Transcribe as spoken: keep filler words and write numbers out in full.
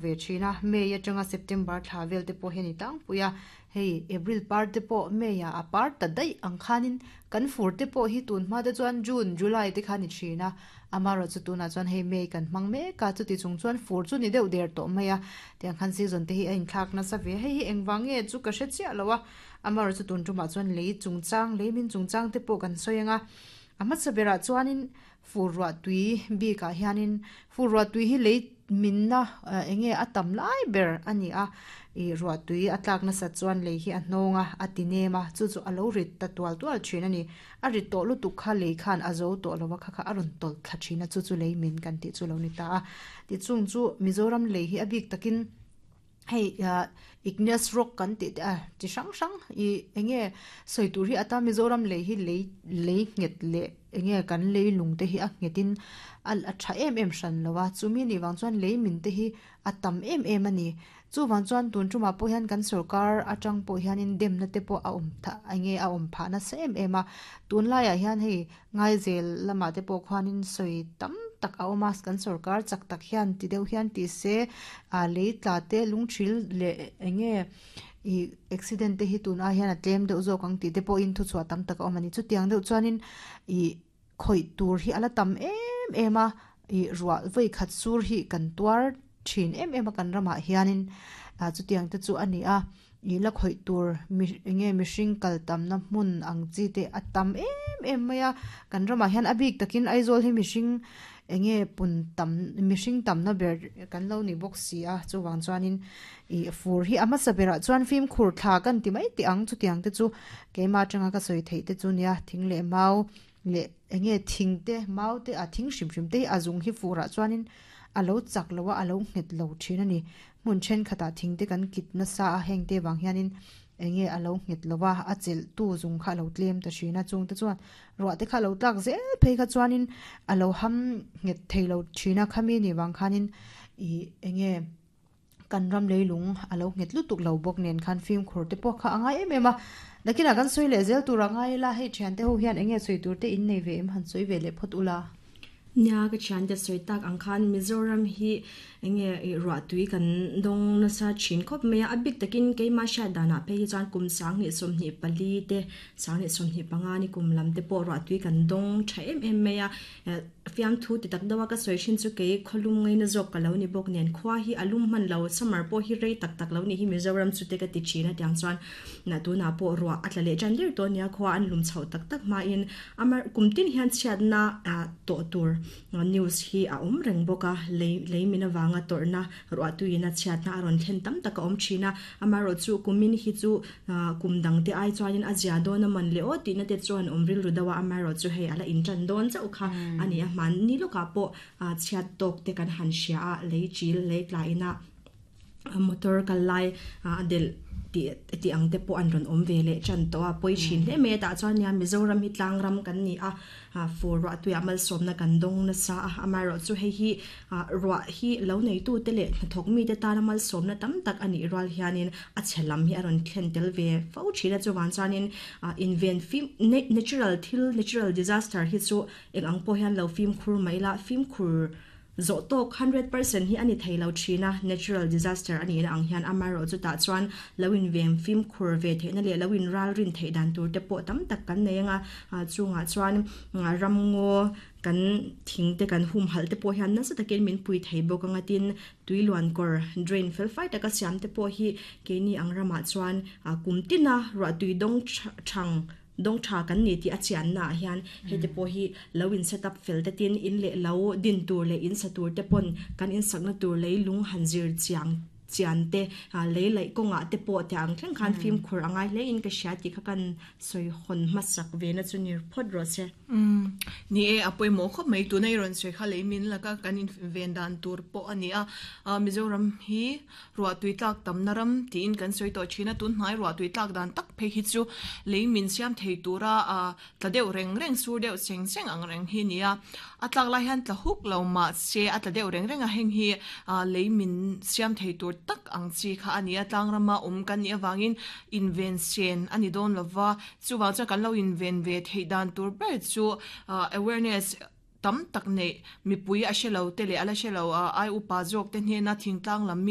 Ve thin a, May atanga September thla vel te pawh hi a ni tlangpui a, hei April par te pawh May ah a par ta daih ang khanin kan fur te pawh hi tun hma te chuan June, July te kha a ni thin a, amaherawhchu chu tunah chuan hei May kan hmang mek a, chuti chung chuan fur chu ni deuh der tawh mai a, tiang khan season te hi a inthlak nasa ve, hei hi engvang nge chu ka hre chiah lo a, amaherawhchu chu tun tumah chuan lei chungchang, lei min chungchang te pawh kan sawi ang a, a hmasa berah chuanin fur ruah tui bikah hianin fur ruah tui hi lei minna eng nge a tam lai ber a ni a, ih ruah tui a tlak nasat chuan lei hi a hnawng a, a ti nem a, chu chu a lo rit ta tual tual thin a ni. A rit tawh lutuk kha lei khan a zo tawh lo a, kha kha a rawn tawlh thla thin a, chu chu lei min kan tih chu lo ni ta a. Tichung chu Mizoram lei hi a bik takin hei ah igneous rock kan tih te a chi hrang hrang ih eng nge sawi tur hi ata Mizoram lei hi lei lei nghet leh eng nge kan lei lung te hi a nghet in a a tha em em hran lo a, chumi nih vang chuan lei min te hi a tam em em a ni. Chuvang chuan tun tumah pawh hian kan sorkar atang pawh hianin demna te pawh a awm tha eng nge a awm phah nasa em em a, tunlaiah hian hei Ngaizel lamah te pawh khuanin sawi tam tak a awm a, kan sorkar chak tak hian ti deuh hian ti se ah lei tla te lungthil leh eng nge ih accident te hi tun ai hian a tlem deuh zawk ang tih te pawhin thuchhuah tam tak a awm a ni. Chutiang deuh chuanin ih khawih tur hi a la tam em em a, ih ruah vawi khat sur hi kan tuar thin em em a kan ramah hianin ah chutiang te chu a ni a, ih la khawih tur mi eng nge mihring kal tamna hmun ang chi te a tam em em mai a, kan ramah hian a bik takin Aizawl hi mihring eng nge pun tam mihring tamna ber kan lo ni bawk si a, chuvang chuanin ih fur hi a hmasa berah chuan fimkhur thla kan ti mai teh ang chutiang te chu keimah atanga ka sawi theih te chu nia thing leh mau leh eng nge thing te mau te a thing hrim hrim te hi a zung hi furah chuanin a lo chak lo a, a lo nghet lo thin a ni. Hmun thenkhatah thing te kan kit nasa a, heng te vang hianin eng nge a lo nghet lo a, a chelh tu zung kha a lo tlem ta thin a, chung te chuan ruah te kha a lo tlak zel phei kha chuanin a lo ham nghet thei lo thin a, khami nih vang khanin ih eng nge kan ram leilung a lo nghet lutuk lo bawk nen khan fimkhur te pawh kha a ngai em em a. Nakinah kan sawi leh zel tur a ngai ila, hei thiante ho hian eng nge sawi tur te in nei ve em han sawi ve leh phawt ula. Nia ka thiante sawi tak ang khan Mizoram hi eng nge ih ruah tui kan dawng nasa thin khawp mai a, a bik takin keimah hriat danah phei hi chuan kum sanghnih sawmhnih pali te sanghnih sawmhnih panga ni kum lam te pawh ruah tui kan dawng tha em em mai a, fiamthu ti tak deuh a ka sawi thin chu kei khawlum ngaina zawk ka lo ni bawk nen khua hi a lum hman lo summer pawh hi rei tak tak lo ni hi Mizoram chu te ka ti thin a tiang chuan na tunah pawh ruah a tla leh tan der tawh nia khua an lum chhoh tak tak hmain amar kum tin hian chhiatna ah tawh tur news hi a awm reng bawk a lei lei min avanga tawrhna ruah tuiin a chhiatna a rawn thlen tam tak a awm thin a amaherawh chu kumin hi chu ah kum dang te ai chuanin a zia dawn a man leh aw tihna te chuan awm rilru deuh a amaherawh chu hei a la intan dawn chauh kha a ni a hmanni lawkah pawh ah chhiat tawk te kan han hria a lei chil lei tlaina motor kal lai ah delh tih tih ang te pawh an rawn awm ve leh tan tawh a pawi thin hle mai a tah chuan nia Mizoram hi tlang ram kan ni a ah fur ruah tuiah malsawmna kan dawng nasa a amaherawh chu hei hi ah ruah hi lo neitu te leh hnathawk mite tana malsawmna tam tak a nih rual hianin a chhe lam hi a rawn thlen tel ve fo thin a chuvang chuanin ah inven fim natural thil natural disaster hi chu eng ang pawh hian lo fimkhur mai ila fimkhur zawh tawk hundred percent hi a ni thei lo thin a, natural disaster a nihna ang hian amaherawh chutah chuan lo inveng fimkhur ve theihna leh lo inral rin theih dan tur te pawh tam tak kan nei anga chungah chuan ramngaw kan thing te kan humhalh te pawh hian nasa takin min pui thei bawk anga tin tui luan kawr drain fel fai taka siam te pawh hi keini ang ramah chuan kum tina ruah tui dawng thang dawng tha kan ni tih a chianna ah hian hei te pawh hi lo in set up fel te tin in leh lo din tur leh in sa tur te pawn kan in sakna tur lei lung han zir chiang chian te lei laih kawngah te pawh tih ang thleng khan fimkhur a ngai hle in ka hria tih kha kan sawi hawn hmasak ve na chu ni phawt rawh se. Umm ni e a pawimawh khawp mai tuna i rawn sawi kha lei min laka kan in ven dan tur pawh a ni a, Mizoram hi ruah tui tlak tamna ram tiin kan sawi tawh thin a, tun hnai ruah tui tlak dan tak phei hi chu lei min siam thei tura tla deuh reng reng sur deuh cheng cheng ang reng hi a ni a, a tlak lai hian tla huk lo mahse a tla deuh reng reng a, heng hi lei min siam thei tur tak ang chi kha a ni a, tlang rama awm kan nih avangin inven sen a ni dawn lova, chuvang chuan kan lo inven ve theih dan tur ber chu awareness tam tak nei mipui a hrelo te leh ala hrelo a ai upa zawk te hnena thingtlang lam mi